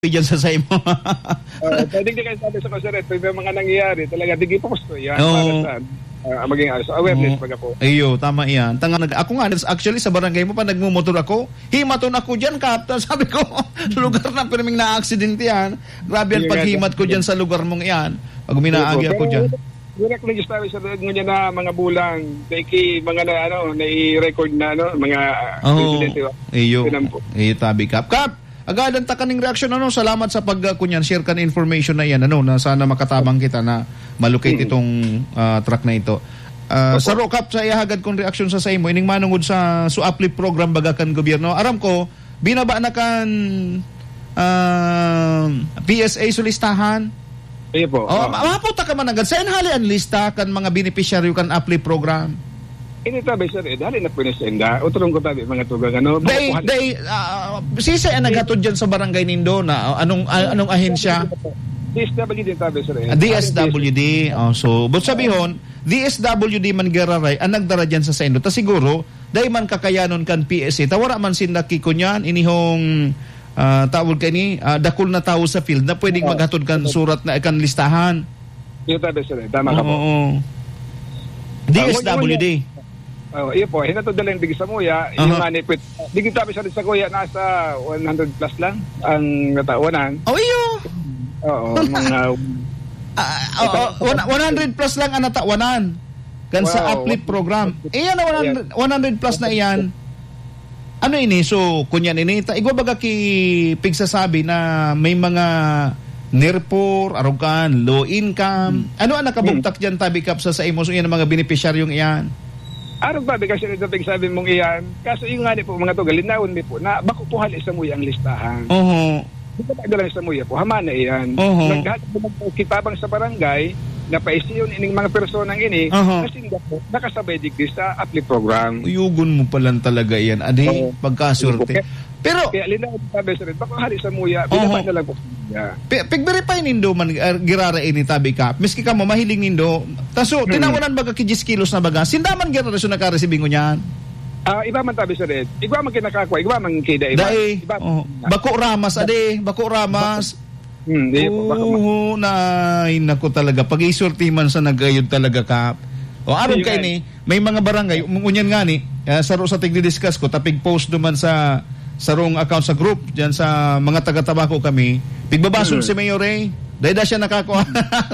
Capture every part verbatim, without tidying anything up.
diyan sa saimo. Oo, pwede di kayo sabi sa Costa Rica, may mga nangyayari, talaga, di po gusto yan, Oo. para sa, ah, maging, ah, sa awareness, Oo. baga po. Iyo, tama yan. Tanga nag-, ako nga, actually, sa barangay mo pa, nagmumotor ako, himaton ako diyan, Kap. Sabi ko, lugar na pirming na-aksidente yan. Grabe ang Sige nga, paghimat ko Kap. diyan sa lugar mong yan. Pag Sige po, uminaagi ako pero diyan. wala ko nag-istorya sa ngunyan na mga bulang, dahil ki-, mga na, ano, nai-record na, ano, mga, ah, Oo. insidente, oh. Iyo. Ganun po. Iyo, tabi, Kap. Kap, agadan ta kaning reaksyon, ano, salamat sa pag, ah, kunyan, share kan information na yan, ano, na sana makatabang kita na malocate Mm. itong, ah, truck na ito. Ah, Opo. Saro, Kap, sa ihagad kong reaksyon sa, sa imo, ining manungod sa, sa uplift program baga kan gobyerno. Aram ko, binaba na kan, ah, P S A su listahan. Iyo po. Oh, Oo. ma-, maputa ka man agad. Saan hali ang lista kan mga benepisyaryo kan uplift program? Ini tabi, sir, eh, dali na po na sa inda. Utrong ko tabi, mga tugang, ano, Day, bukuhan. day, ah, sisay ang naghatod dyan sa barangay nindo na, ah, anong, ah, anong ahensya? D S W D tabi, sir, eh. Ah, D S W D. Oh, so, but sabihon, D S W D man giraray ang nagdara dyan sa saindo. Ta siguro, dai man kakayanon kan P S A. Ta wala man sinda kikunyan, inihong, ah, tawag ka ini, ah, dakul na tawo sa field na pwedeng Oo. maghatod kan surat na kan listahan. Yung tabi, sir, eh. Tama ka po. Oo. Ah, D S W D. Oh, iyo po, hinatod na lang digdi sa muya, yung Aha. nga ni Pit-, digdi tabi sa, sa kuya, nasa one hundred plus lang ang natawanan. Oh, iyo. Oo, mga Ah, oo, Ito, one, one hundred plus lang ang natawanan. Kan sa Wow. uplift program. Iyan na one hundred, Ayan. one hundred plus na iyan. Ano ini? So, kunyan ini, ta-, igwa baga ki pigsasabi na may mga NER four, arog kan, low income. Hmm. Ano ang nakabugtak Hmm. diyan, tabi, Kap, sa, sa imo? So, iyan ang mga benepisyaryong iyan. Arog ba, bigas yung ito pigsabi mong iyan? Kaso yung nga ni po, mga tugal, linawon mi po na bako po hali sa muya ang listahan. Oho. Di ba, dala sa muya po, hama na iyan. Oho. Naghahat naman po kitabang sa barangay, na paisiyon ining mga personang ini, Oho. na sinda po, nakasabay digdi sa uplift program. Uyugon mo pa lang talaga iyan, adi, Oo. pagkaswerte. Opo. Pero Kaya linawon tabi, sir, bako hali sa muya, Oho. binaba na lang po sa muya. Pi-, pig-verify nindo man, ah, girara ini, tabi, Kap. Miski kamo, mahiling nindo. Taso, Hmm. tinawanan baga ki diyes kilos na baga. Sinda man girara so nakaresibi ngunyan. Ah, iba man tabi, sir, eh. Igwa man kinakakwa, igwa man kida, iba. Dai. Iba. Oh, bako ramas, ade. Bako ramas. Hmm, di po, bako ma- Oo, nay, naku talaga. Pag-isulti man sa nagayod talaga, Kap. O, aron Sige, kay ay. ni, may mga barangay, um, ngunyan nga ni, ah, saro sa tigdi-discuss ko, tapig post duman sa sarong account sa group, diyan sa mga taga-Tabaco kami. Pigbabasol Hmm. si Mayor Ray. Dahil na siya nakakuha.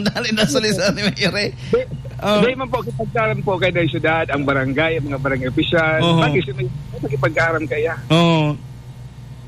Dali na sa listahan ni Mayor Ray. Di, Oh. di man po, kipagkaram po kayo ng syudad, ang barangay, ang mga barangay opisyal. Oho. Bagay si Mayor, makipagkaram kaya. Oo.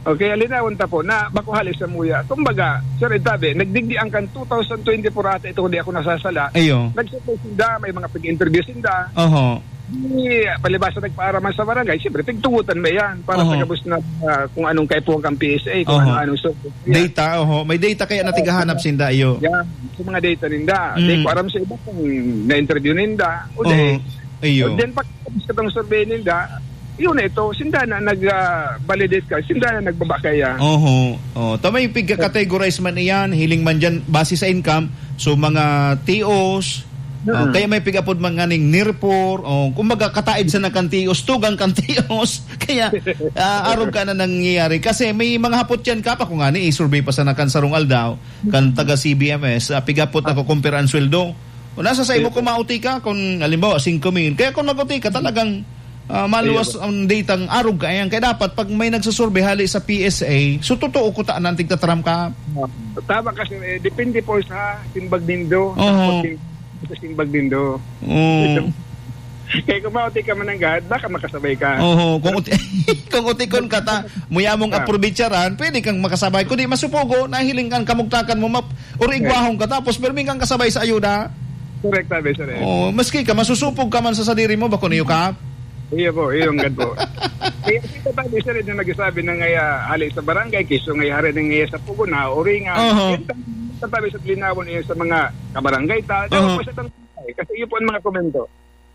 Okay, linawon ta po na bako hali sa muya. Kumbaga, Sir Ed Tabe, nagdigdi ang kan two thousand twenty-four ata ito, kung di ako nasasala. Ayo. Nagsupply sinda, may mga pag-interview sinda. Oho. Di, palibasa nagpaaraman sa barangay, siyempre, tigtugutan mo yan para Oho. sa gabos na, ah, kung anong kaipuhan kang P S A, kung Oho. ano-anong survey. Yan. Data, oho. May data kaya na Oo. tigahanap sinda, iyo. Yan, sa mga data ninda. Mm. Di ko aram sa iba kung na-interview ninda. O di, Oho. Iyo. o then pag tapos itong survey ninda, yun na ito, sinda na nag, ah, validate ka, sinda na nagbaba kaya. Oho. Oh, ta may pigka-categorize man iyan, hiling man diyan, base sa income, so mga T Os, Mm. oh, kaya may pig-apod man nganing NER four, oh, kumbaga kataid sa nakan T Os, tugang kan T Os. Kaya, ah, arog ka na nangyayari. Kasi may mga hapot yan, Kap, ako nga ni, i-survey pa sa nakan sarong aldaw, kan taga C B M S, ah, pig-apod ako, compare ang sweldo. O, nasa sa imo Iyo. kung mauti ka, kung halimbawa, singko mil. Kaya kung mag-uti ka, talagang, ah, maluwas Iyo. ang datang arog ka. Ayan, kaya dapat, pag may nagsusurvey hali sa P S A, so totoo ko ta, nantig tataram ka. Tama kasi, eh, depende po sa simbag nindo. Oho. Sa simbag nindo. Oo. Kaya kung mauti ka mananggad, baka makasabay ka. Oho, kung uti-, kung utikon ka ta, muya mong Ah. aprobitsaran, pwede kang makasabay. Kundi masupugo, nahiling kang kamugtakan mo, map-, or Right. igwahon ka, tapos permi kang kasabay sa ayuda. Correct, tabi, sir, eh. Oo, maski ka, masusupog ka man sa sadiri mo, bako niyo ka? Iyo po, iyo ang gad po. Kaya si Tatay Sir, yung nagsasabi na ngaya hali sa barangay, kiso ngaya hari na ngaya sa pugo na, o ringa. Oho. Yan, Tatay Sir, linawon niyo sa mga kabarangay ta. Oho. Dapat po sa tang-, kasi iyo po ang mga komento.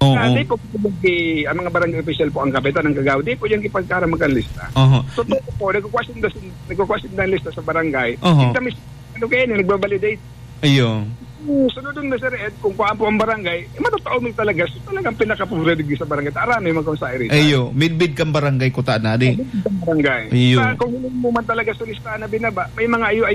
Oo. Ah, di po, di, ang mga barangay official po, ang kapitan, ang kagawad, di po yan ipagkaramag ang lista. Oho. Totoo po, nagkukwasyon na, nagkukwasyon na ang lista sa barangay. Oho. Kita mis-, ano kaya yun, nagbabalidate. Ayun. Hmm, sunod dun na, Sir Ed, kung kuhaan po ang barangay, eh, matotoo man talaga, so talagang pinakapobre digdi sa barangay. Tara, may magkong sa area. Ayo, midbid kang barangay, kuta na, di? Midbid kang barangay. Ayun. Ah, kung hindi mo man talaga sa listahan na binaba, may mga ayo-ayo